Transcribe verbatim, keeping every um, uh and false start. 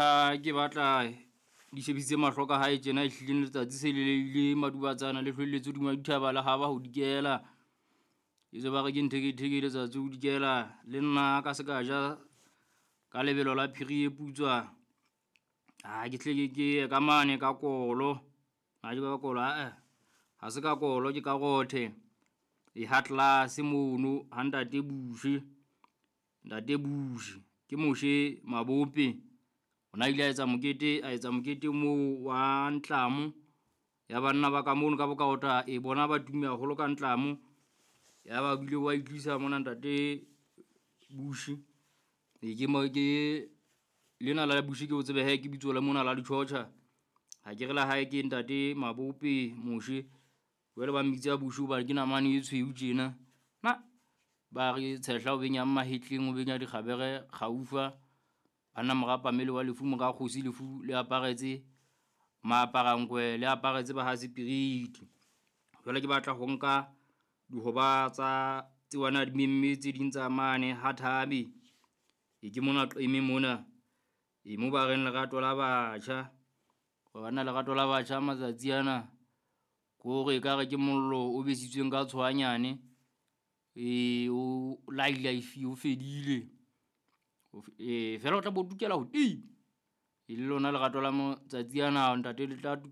ha ke batla di shebisitse mahlo ka hae tjena, ehlileng letsatsi se le ile madubatsana le hlwelletse hodima dithaba le haba ho dikela. Etswe ba re ke ntheketheke letsatsi ho dikela le nna ka se ka ja ka lebelo la phiri e putswa. Ha ke hle ke ke ye ka mane ka kolo, ha ke ka kolo ae ha se ka kolo ke ka rothe. E ha tlase mono ha ntate Bushe, ntate Bushe ke Moshe Mabope. O na ile a etsa mokete, a etsa mokete moo wa ntlamo ya banna ba ka mono ka bokaota e bona ba tumme haholo ka ntlamo. Ya ba bile wa itlisa mona ntate Bushi. E ke mo ke lena la Bushi ke o tsebe he ke bitso la mona la ditjhotjha. Ha ke re la hae ke ntate Mabope Moshe. Jwale ba mmitsa Bushi hobane ke namane e tshweu tjena. Na ba re tshehla o benyang mahetleng, o benya dikgabere kgaufa. Banna mora Pamele wa lefu, mora kgosi lefu le aparetse maaparankwe le aparetse ba ha sepiriti. Jwale ke batla ho nka dihoba tsa tseo a na di memme tse ding tsa mane ha Thabe. E ke mona Qeme mona, e mo ba reng lerato la batjha. Banna lerato la batjha matsatsi ana ke hore ekare ke mollo o besitsweng ka tshoanyane. E o lai lai o fedile. E fela o tla bo tukela hodimo. E le lona lerato la matsatsi ana ntate le tla tukela.